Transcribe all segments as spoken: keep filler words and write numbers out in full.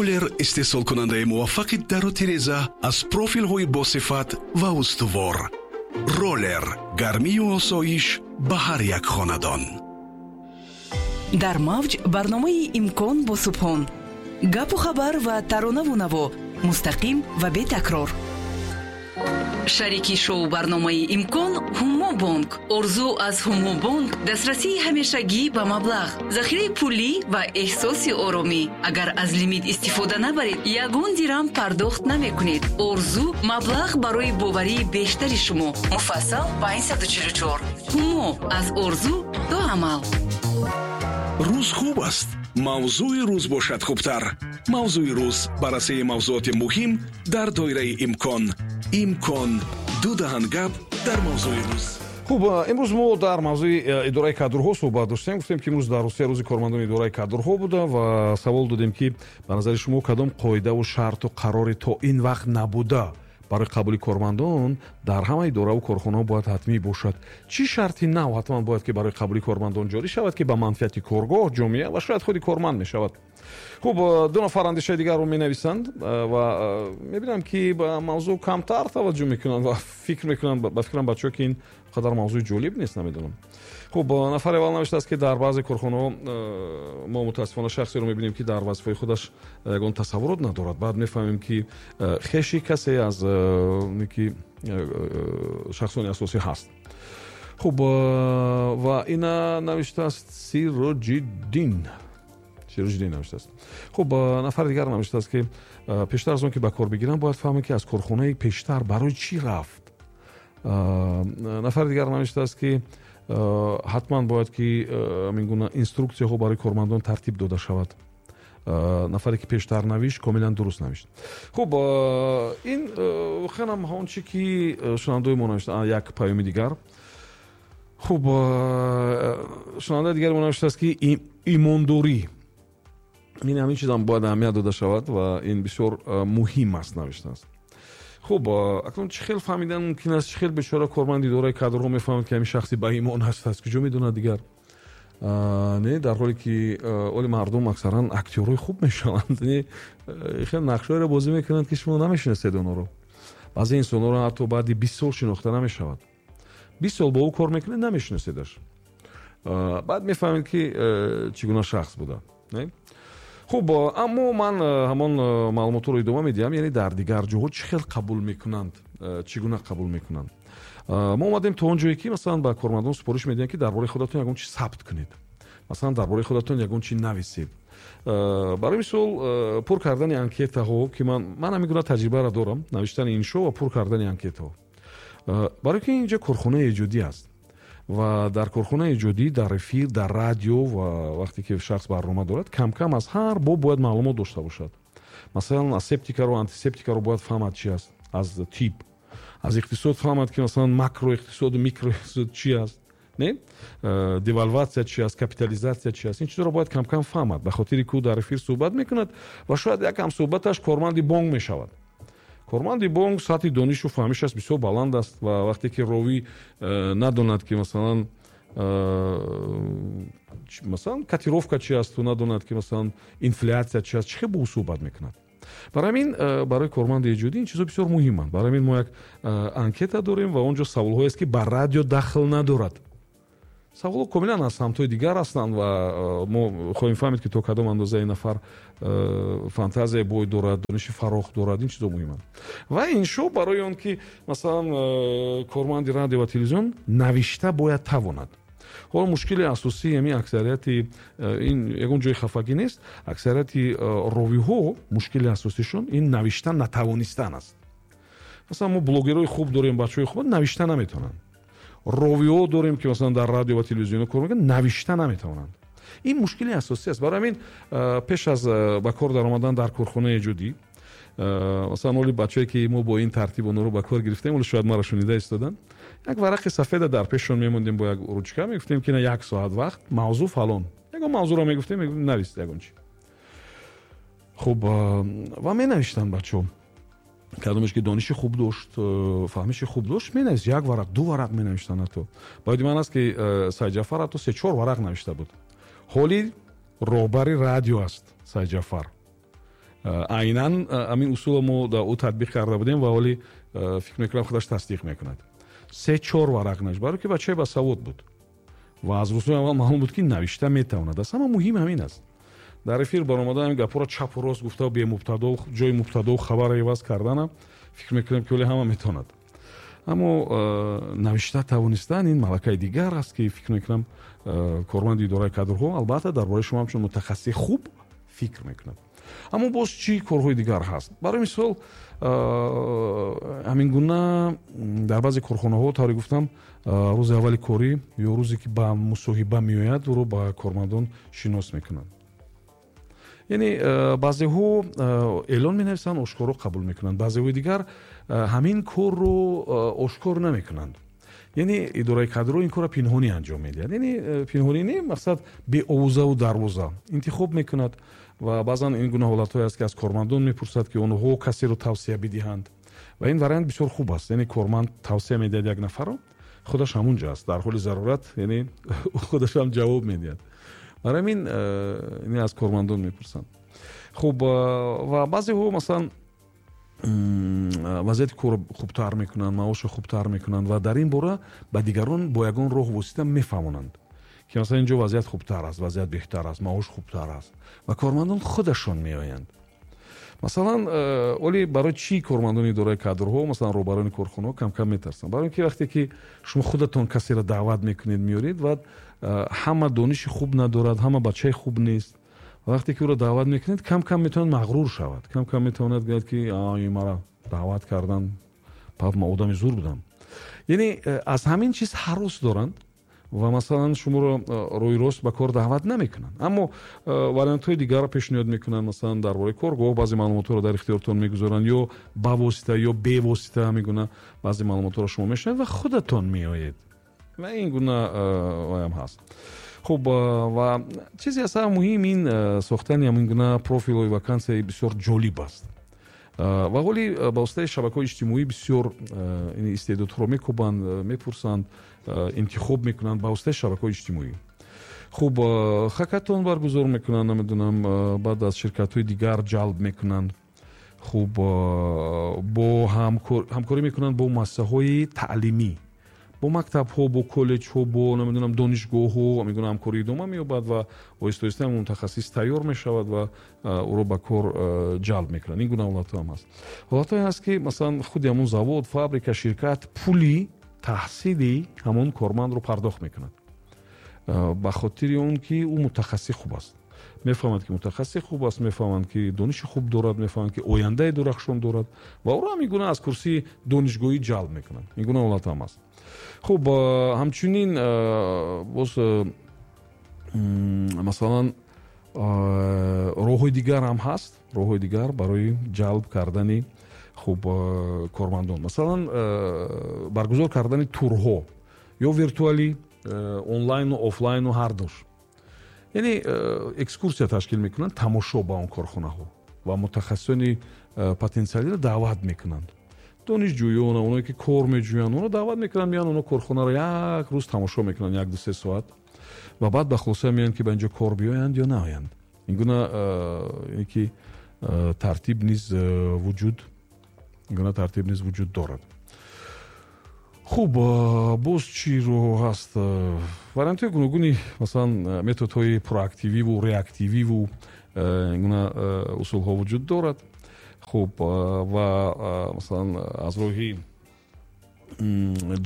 Роллер, истеҳсолкунандаи муваффақи дару тиреза аз профилҳои босифат ва устувор. Роллер, гармию осоиш ба ҳар як хонадон. Дар мавҷ барномаи «Имкон» бо Субҳон. Гапу хабар ва таронаву наво мустақим ва бетакрор. Шарики шоу барномаи «Имкон» Ҳумо Бонк. Орзу аз Ҳумо Бонк: дастрасии ҳамешагӣ ба маблағ, захираи пулӣ ва эҳсоси оромӣ. Агар аз лимит истифода набаред, ягон дирам пардохт намекунед. Орзу: маблағ барои боварии бештари шумо. Муфассал панҷсаду чилу чор. Ҳумо: аз орзу то амал. Рӯз хуб аст, мавзӯи рӯз бошад хубтар. «Мавзӯи рӯз», баррасии мавзӯоти муҳим дар доираи имкон. «Имкон», ду даҳан гап дар мавзӯи рӯз. Хуб, имрӯз мо дар мавзӯи э, идораи кадрҳо суҳбат доштем. Гуфтем, ки имрӯз дар Русия рӯзи кормандони идораи кадрҳо буда ва савол додем, ки ба назари шумо кадом қоидаву шарту қарори то ин вақт набуда барои қабули кормандон дар ҳама идораву корхонаҳо бояд ҳатмӣ бошад? Чӣ шарти нав ҳатман бояд, ки барои қабули кормандон ҷорӣ шавад, ки ба манфиати коргоҳ, ҷомеа ва шояд худи корманд мешавад? Хуб, ду нафар андешаи дигарро менависанд ва мебинам, ки ба мавзӯъ камтар таваҷҷӯҳ мекунанд ва фикр мекунанд, ба фикрам, бачаҳо, ки ин қадар мавзӯи ҷолиб нест, намедонам. Хуб, нафари аввал навиштааст, ки дар баъзе корхонаҳо мо мутаассифона шахсеро мебинем, ки дар вазифаи худаш ягон тасаввурот надорад. Баъд мефаҳмем, ки хеши касе аз ки шахсони асосӣ ҳаст. Хуб, ва ина навиштааст Сироҷиддин, Сироҷиддин навиштааст. Хуб, нафари дигар навиштааст, ки пештар аз он ки ба кор бигиранд, бояд фаҳмем, ки аз корхонаи пештар барои чӣ рафт. Нафари дигар навиштааст, ки ҳатман бояд, ки ҳамин гуна инструксияҳо барои кормандон тартиб дода шавад. Нафаре ки пештар навишт, комилан дуруст навишт. Хуб, ин воқеан ҳам он чи ки шунавандаои мо навишт. Як паёми дигар. Хуб, шунавандаи дигари мо навиштааст, ки имондорӣ, ин ҳамин чизам бояд аҳамият дода шавад ва ин бисёр муҳим аст, навиштааст. Хуб, акнун чӣ хел фаҳмидан мумкин аст? Чӣ хел бечора корманди идораи кадрҳо мефаҳмад, ки ҳамин шахси баимон аст? Аз куҷо медонад дигар? Не, дар ҳоле ки оли мардум аксаран актёрҳои хуб мешаванд, не, хел нақшҳоеро бозӣ мекунанд, ки шумо намешинасед онҳоро. Баъзе инсонҳоро ҳатто баъди бист сол шинохта намешавад. Бист сол бо ӯ кор мекунед, намешинаседаш, баъд мефаҳмед, ки чӣ гуна шахс буда. Хуб, аммо ман ҳамон маълумотҳоро идома медиҳам, яъне дар дигар ҷоҳо чӣ хел қабул мекунанд, чӣ гуна қабул мекунанд. Мо омадем то он ҷое, ки масалан ба кормандон супориш медиҳанд, ки дар бораи худатон ягон чиз сабт кунед, масалан, дар бораи худатон ягон чи нависед. Барои мисол, пур кардани анкетаҳо, ки ман ман ҳамин гуна таҷрибаро дорам, навиштани иншо ва пур кардани анкетаҳо, барои ки инҷа корхонаи эҷодӣ аст ва дар корхонаи эҷодӣ, дар эфир, дар радио ва вақте ки шахс барнома дорад, камкам аз ҳар боб бояд маълумот дошта бошад. Масалан, асептикаро, антисептикаро бояд фаҳмад чи аст, аз тиб, аз иқтисод фаҳмад, ки масалан макроиқтисоду микроиқтисод чи аст, не, э, девальватсия чи аст, капитализатсия чи аст. Ин чизро бояд камкам фаҳмад, ба хотири ку дар эфир суҳбат мекунад ва шояд якам суҳбаташ корманди бонк мешавад. Корманди бонк сатҳи донишу фаҳмишаш бисёр баланд аст ва вақте ки ровӣ э, надонад, ки масалан э, масалан котировка чи асту надонад, ки масалан инфляция чи аст, чӣ хел бо ӯ суҳбат мекунад? Барои ҳамин э, барои корманди эҷодӣ ин чизо бисёр муҳиманд. Барои ҳамин мо як анкета дорем ва он ҷо саволҳоест, ки ба радио дахл надорад. Саволҳо комилан аз самтҳои дигар ҳастанд ва мо хоҳем фаҳмид, ки то кадом андоза ин нафар фантазияи бой дорад, дониши фарох дорад. Ин чизо муҳиманд. Ва иншо барои он ки масалан корманди радио ва телевизион навишта бояд тавонад. Ҳоло мушкили асосии ҳамин аксарияти, ин ягон ҷои хафагӣ нест, аксарияти ровиҳо мушкили асосишон ин навишта натавонистан аст. Масалан, мо блогерҳои хуб дорем, бачаҳои хуб навишта наметавонанд. Ровиҳо дорем, ки масалан дар радио ва телевизионо кор мекунанд, навишта наметавонанд. Ин мушкили асосӣ аст. Барои ҳамин пеш аз ба кор даромадан дар корхонаи эҷодӣ, масалан, оли бачае ки мо бо ин тартиб онҳоро ба кор гирифтем, оли шояд маро шунида истоданд, як варақи сафеда дар пешшон мемондем бо як ручка, мегуфтем, ки на, як соат вақт, мавзӯъ фалон, ягон мавзӯъро мегуфтем, мегуфтем, навист ягон чи. Хуб, ва менавиштанд бачаҳо. Кадомеш ки дониши хуб дошт, фаҳмиши хуб дошт, менавист, як варақ, ду варақ менавиштанд. Ҳатто ба ёди ман аст, ки Сайҷафар ҳатто се чор варақ навишта буд. Ҳоли роҳбари радио аст Сайҷафар. Айнан ҳамин усулро мо дар ӯ татбиқ карда будем ва ҳоли фикр мекунам, худаш тасдиқ мекунад. Се чор варақ навишт, барое ки бачаи басавод буд ва аз рӯзҳои аввал маълум буд, ки навишта метавонад. Аз ҳама муҳим ҳамин аст. Дар эфир баромада, ҳамин гапҳоро чапу рост гуфта, бемубтадо ҷои мубтадоу хабарро иваз кардана фикр мекунам, ки ҳоли ҳама метавонад, аммо навишта тавонистан ин малакаи дигар аст, ки фикр мекунам, корманди идораи кадрҳо албатта дар бораи шумо ҳамчун мутахассиси хуб фикр мекунад. Аммо боз чӣ корҳои дигар ҳаст? Барои мисол, ҳамин гуна дар баъзе корхонаҳо, тавре гуфтам, рӯзи аввали корӣ ё рӯзе ки ба мусоҳиба меояд, ӯро ба кормандон шинос мекунанд. Яъне баъзеҳо эълон менависанд, ошкоро қабул мекунанд, баъзеҳои дигар ҳамин корро ошкор намекунанд. Яъне идораи кадрҳо ин корро пинҳонӣ анҷом медиҳад. Яъне пинҳонӣ не, мақсад, беовозаву дарвоза интихоб мекунад. Ва баъзан ин гуна ҳолатҳое аст, ки аз кормандон мепурсад, ки онҳо касеро тавсия бидиҳанд, ва ин вариант бисёр хуб аст. Яъне корманд тавсия медиҳад як нафарро, худаш ҳамунҷо аст дар ҳоли зарурат, яъне худаш ҳам ҷавоб медиҳад. Барои ҳамин ин аз кормандон мепурсанд. Хуб, ва баъзеҳо, масалан, вазъияти корро хубтар мекунанд, маошро хубтар мекунанд ва дар ин бора ба дигарон бо ягон роҳ восита мефаҳмонанд, ки масалан инҷо вазъият хубтар аст, вазъият беҳтар аст, маош хубтар аст, ва кормандон худашон меоянд. Масалан, оли барои чӣ кормандони идораи кадрҳо, масалан роҳбарони корхонаҳо кам-кам метарсанд? Барои ин ки вақте ки шумо худатон касеро даъват мекунед, меоред, ва ҳама дониши хуб надорад, ҳама бачаи хуб нест, вақте ки ӯро даъват мекунед, кам-кам метавонад мағрур шавад, кам-кам метавонад гӯяд, ки маро даъват кардан, пас ман одами зур будам. Яъне аз ҳамин чиз ҳарос доранд ва масалан шуморо рӯи рост ба кор даъват намекунанд, аммо вариантҳои дигарро пешниҳод мекунанд. Масалан, дар бораи коргоҳ баъзе маълумотҳоро дар ихтиёртон мегузоранд, ё ба восита, ё бевосита мегуна баъзе маълумотҳоро шумо мешунавед ва худатон меоед, ва ин гуна ам ҳаст. Хуб, ва чизе аз ҳама муҳим ин сохтани ҳамин гуна профилҳои вакансияи бисёр ҷолиб аст. Ва ҳоли ба воситаи шабакаҳои иҷтимоӣ бисёр истеъдодҳоро мекӯбанд, мепурсанд, интихоб мекунанд ба воситаи шабакаҳои иҷтимоӣ. Хуб, хакатон баргузор мекунанд, намедонам, баъд аз ширкатҳои дигар ҷалб мекунанд. Хуб, бо ҳамкорӣ мекунанд бо муассисаҳои таълимӣ, бо мактабҳо, бо коллеҷҳо, бо намедонам донишгоҳҳо. Ҳамин гуна ҳамкорӣ идома меёбад ва оҳиста оҳиста мутахассис тайёр мешавад ва ӯро ба кор ҷалб мекунанд. Ин гуна ҳолатҳо ҳам ҳаст. Ҳолатҳое ҳаст, ки масалан худи ҳамон завод, фабрика, ширкат пули таҳсили ҳамон кормандро пардохт мекунад, ба хотири он ки ӯ мутахассиси хуб аст. Мефаҳманд, ки мутахассиси хуб аст, мефаҳманд, ки дониши хуб дорад, мефаҳманд, ки ояндаи дурахшон дорад, ва ӯро ҳамин гуна аз курсии донишгоҳӣ ҷалб мекунанд. Ин гуна ҳолат ҳам аст. Хуб, ҳамчунин боз масалан роҳҳои дигар ҳам ҳаст, роҳҳои дигар барои ҷалб кардани хуб кормандон. Масалан, баргузор кардани турҳо ё виртуалӣ, онлайну офлайну ҳардуш. Яъне экскурсия ташкил мекунанд, тамошо ба он корхонаҳо, ва мутахассисони потенсиалиро даъват мекунанд. Донишҷӯён, оное ки кор меҷӯянд, онро даъват мекунанд, меянд, онҳо корхонаро як рӯз тамошо мекунанд, як ду се соат, ва баъд ба хулоса меоянд, ки ба инҷо кор биёянд ё наоянд. Ин гуна ки тартиб низ вуҷуд ин гуна тартиб низ вуҷуд дорад. Хуб, боз чӣ роҳ ҳаст? Вариантҳои гуногуни, масалан, методҳои проактививу реактививу ин гуна усулҳо вуҷуд дорад. Хуб, ва масалан аз роҳи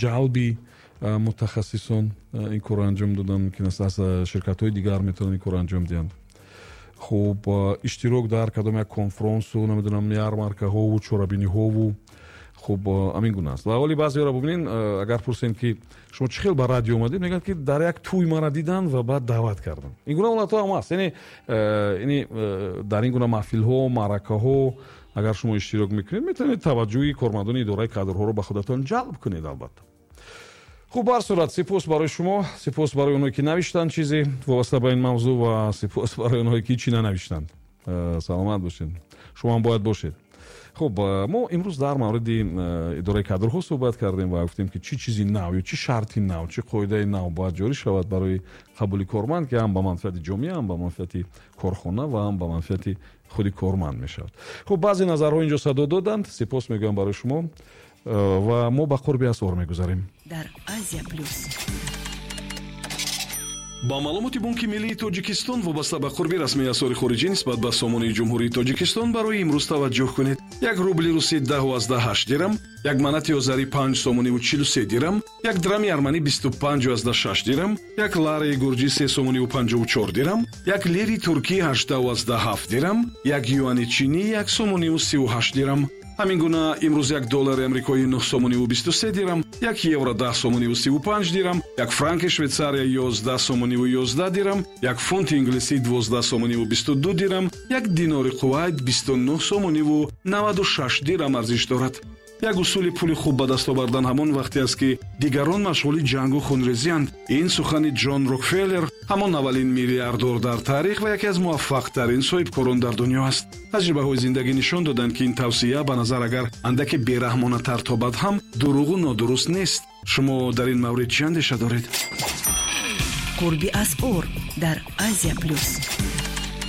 ҷалби мутахассисон ин корро анҷом додан мумкин аст, аз ширкатҳои дигар метавонанд ин корро анҷом диҳанд. Хуб, иштирок дар кадом як конфронсу, намедонам, ярмаркаҳову чорабиниҳову, хуб, ҳамин гуна аст. Ва ҳоли баъзеҳоро бубинед, агар пурсем, ки шумо чӣ хел ба радио омадед, мегӯянд, ки дар як тӯй мара диданд ва баъд даъват карданд. Ин гуна ҳолатҳо ҳам ҳаст. Яъне яъне дар ин гуна маҳфилҳо, маъракаҳо агар шумо иштирок мекунед, метавонед таваҷҷӯҳи кормандони идораи кадрҳоро ба худатон ҷалб кунед, албатта. Хуб, бар сурат, сипос барои шумо, сипос барои онҳое, ки навиштанд чизе вобаста ба ин мавзӯъ, ва сипос барои онҳое, ки ҳечи нанавиштанд. Саломат бошед, шумо ҳам бояд бошед. Хуб, мо имрӯз дар мавриди идораи кадрҳо суҳбат кардем ва гуфтем, ки чӣ чизи нав ё чӣ шарти нав, чӣ қоидаи нав бояд ҷорӣ шавад барои қабули корманд, ки ҳам ба манфиати ҷомеа, ҳам ба манфиати корхона ва ҳам ба манфиати худи корманд мешавад. Хуб, баъзе назарҳо инҷо садо доданд. Сипос мегӯям барои шумо ва мо ба қурби асъор мегузарем. Дар Азия Плюс. Ба маълумоти Бонки Миллии Тоҷикистон вобаста ба қурби расмии асъори хориҷӣ нисбат ба сомонии Ҷумҳурии Тоҷикистон барои имрӯз таваҷҷӯҳ кунед. Як рубли русӣ даҳу аздаҳ ҳашт дирам, як манати озарӣ панҷ сомониву чилу се дирам, як драми арманӣ бисту панҷу аздаҳ шаш дирам, як лараи гурҷӣ се сомониву панҷоҳу чор дирам, як лири туркӣ ҳаждаҳу аздаҳ ҳафт дирам, як юани чинӣ як сомониву сиву ҳашт дирам. Ҳамин гуна имрӯз як доллари амрикоӣ нӯҳ сомониву бисту се дирам, як евро даҳ сомониву сиву панҷ дирам, як франки Швейтсария ёздаҳ сомониву ёздаҳ дирам, як фунти инглисӣ дувоздаҳ сомониву бисту ду дирам, як динори Кувайт бисту нӯҳ сомониву наваду шаш дирам арзиш дорад. Як усули пули хуб ба даст овардан ҳамон вақте аст, ки дигарон машғули ҷангу хунрезианд. Ин сухани Ҷон Рокфеллер, ҳамон аввалин миллиардор дар таърих ва яке аз муваффақтарин соҳибкорон дар дунё аст. Таҷрибаҳои зиндагӣ нишон доданд, ки ин тавсия ба назар агар андаке бераҳмонатар тобад ҳам дурӯғу нодуруст нест. Шумо дар ин маврид чӣ андеша доред? Қурби асъор дар Азия Плюс.